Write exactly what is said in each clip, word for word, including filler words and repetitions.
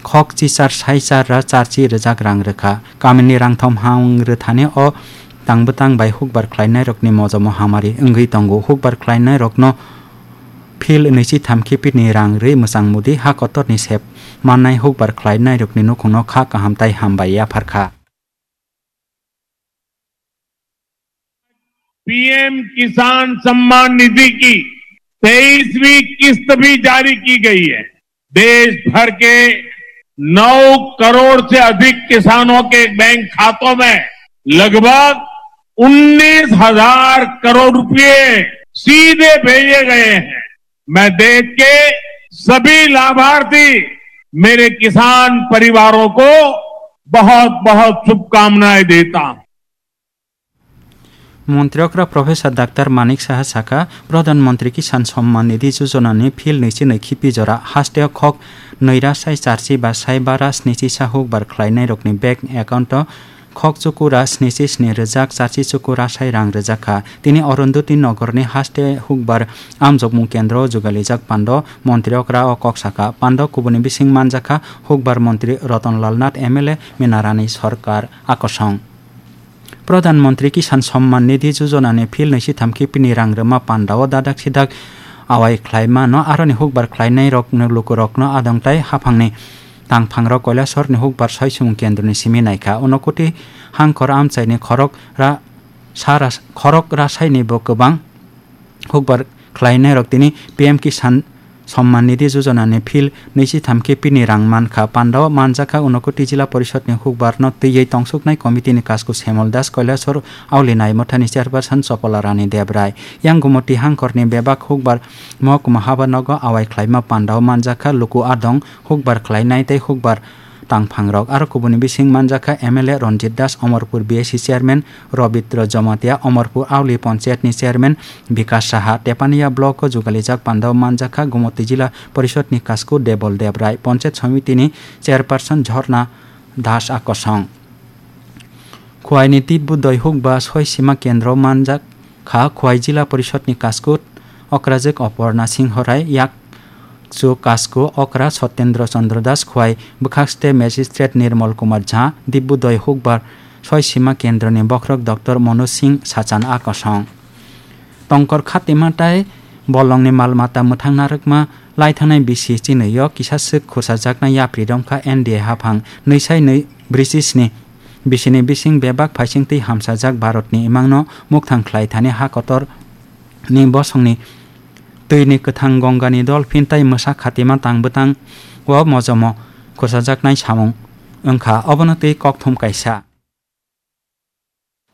khok chichar sai char ra charchi rijak rang rwkha. Kamini rangthom hang rwthani o tangbwtang bai hukbar khlainairokni mojomo hamari wngwi tongo. Hukbar khlainairokno phil nwichi thamkhe pini rang rwi mwchang mudi ha kotorni sep mannai hukbar khlainairokni nukhungno kha kaham tai hambai yapharkha. PM किसान सम्मान निधि की तेईसवीं किस्त भी जारी की गई है। देश भर के नौ करोड़ से अधिक किसानों के बैंक खातों में लगभग उन्नीस हज़ार करोड़ रुपए सीधे भेजे गए हैं। मैं देश के सभी लाभार्थी, मेरे किसान परिवारों को बहुत बहुत शुभकामनाएं देता हूं। Montri okra Professor Doctor Manik Saha sakha, Pradhan Mantri Kisan Samman Nidhi Yojana ni phil nwichi nwi khipi jora haste o khok nwi ra sai charchi ba sai bara snichi sa hukbar khlainairokni bank account o khok chukura snichi sni rijak charchi chukura sai rang rijak kha. Tini Arundhati Nagar ni haste hukbar amjokmung kendro o jugalijak pando montri okra o kok sakha. Pando kubuni bising manjakha hukbar montri Ratan Lal Nath, M L A Minarani Sarkar akosong. Pradhan Mantri Kisan Samman Nidhi Yojana ni phil nwi sitham khe pini rang rwma panda o dadak sidak awai khlai mano, aroni hukbar khlainai rok lukurokno adong tai haphangni tangphangrok Kailasor ni hukbar soi sumung kendro ni simi naikha. Unokoti hangkhor amchai ni khorok ra, sara, khorok rasai ni bo kwbang hukbar khlainairok tini P M Kisan Samman Nidhi Yojana ni phil nwi sitham khe pini rang mankha. Pandao manjakha Unokoti Jila Porishod ni hukbar no twiwi tongsuknai committee ni kasku Semol Das, Kailasor Auli Naimotha ni chairperson Chopola Rani Debrai. Yang Gumoti hangkhor ni bebak hukbar Mohokuma Habanogo awai khlaima pandao manjakha luku adong hukbar khlainai tei hukbar tangphangrok. Aro kubuni bising manjakha M L A Ranjit Das, Omorpur B S C chairman Robitro Jomatia, Omorpur Auli Panchayat ni chairman Bikas Saha, Tepania block o jugalijak pandao manjakha Gumoti Jila Porishod ni kasku Debol Debrai, Panchayat Samiti ni chairperson Jhorna Das akosong. Khwai ni Titbu doi hukba soi sima kendro manjak kha Khwai Jila Porishod ni kasku Okrajwk Oporna Singho Rai, yak chu kasku okra Sotendra Chandra Das, Khwai bwkhak state magistrate Nirmal Kumar Jha, Dibudoi hukbar soi sima kendroni bokhorok Doctor Manoj Singh Sachan akosong. Tongkor khatima tai bolongni mal mata mwthang narwkma laithanai bisi chinwi o kisa swk khusajaknai yapri romkha N D A haphang nwi sai nwi brisi sni bisini bising bebak phaising twi hamsajak Bharatni imangno mukthang khlai thani ha kotor ni bosongni twini kwthang Gongani dolphin tai mwsa khatima tang bwtang o mojomo khusajaknai samung wngkha, obono twi kokthum kaisa.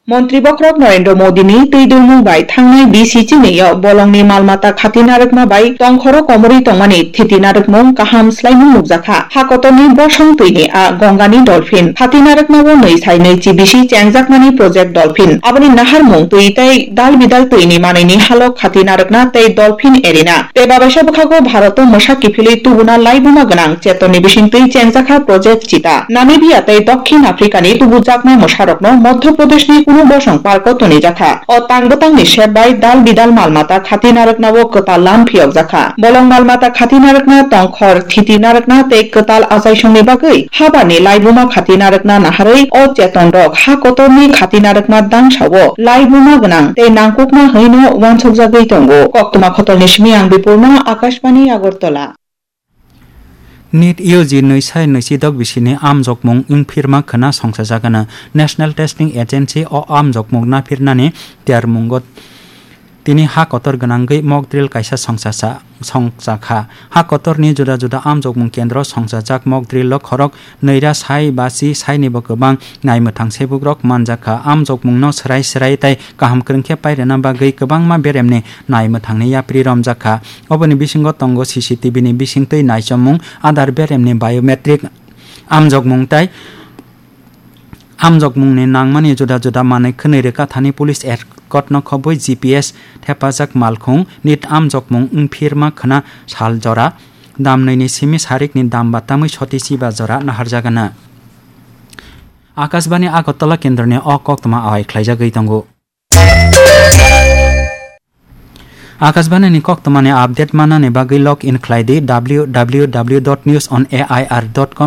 Montri bokhorok Narendra Modi ni twi dulmung bai thangnai bisi chinwi o bolongni mal mata khati narwkma bai tongkhoro komorwi tongmani thiti narwkmung kaham swlaimung nukjakha. Ha kotorni bosong twini a Gongani dolphin khati narwkma o nwi sai nwi chi bisi chengjakmani project dolphin. Aboni naharmung twi tei dal bidal twini manwini halok khati narwkna tei dolphin erina. Tei babaisa bwkhago Bharat o mwsa kiphilwi tubuna laibuma gwnang Chetonni bising twi chengjakha project Chita. Namibia tei Dokhin Africa ni tubujaknai mwsarokno Madhya Pradesh ni kunu bosong park o tonijakha. O tang bwtangni sep bai dal bidal mal mata khati narwknao kwtal lam phiyokjakha. Bolong mal mata khati narwkna, tongkhor thiti narwkna tei kwtal achaisongni bagwi habarni laibuma khati narwkna naharwi o cheton rok ha kotorni khati narwkna dangsao laibuma gwnang tei nangkukma hwnwino uansukjagwi tongo. Koktwma khotolni simi ang Bipurna, Akashbani Agartala. NEET U G nwi sai nwi chi dok bisini amjokmung wngphirma khwna songsajagano. National Testing Agency o amjokmung naphirnani tiyarmungo tini ha kotor gwnangwi mock drill kaisa songchacha-, songchakha. Ha kotorni juda juda amjokmung kendro songsajak mock drill o khorok nwi ra sai ba chi sainibo kwbang naimwthang sebukrok manjakha. Amjokmungno swrai swrai tei kaham kwrwng khe pairwna bagwi kwbangma beremni naimwthangni yapri romjakha. Oboni bisingo tongo C C T V ni bisingtwi naichomung, adar beremni biometric amjokmung tei amjokmungni nangmani juda juda manwi khwnwi rwkha thani police escort no khobwi G P S thepajak malkhung. NEET amjokmung wngphirma khwna sal jora damnwini simi sarikni dam batamwi soti chiba jora naharjagano. Akashbani Agartala kendroni o koktwma awai khlaijagwi tongo. Akashbani ni koktwmani update manani bagwi log in khlai di W W W dot news on A I R dot com.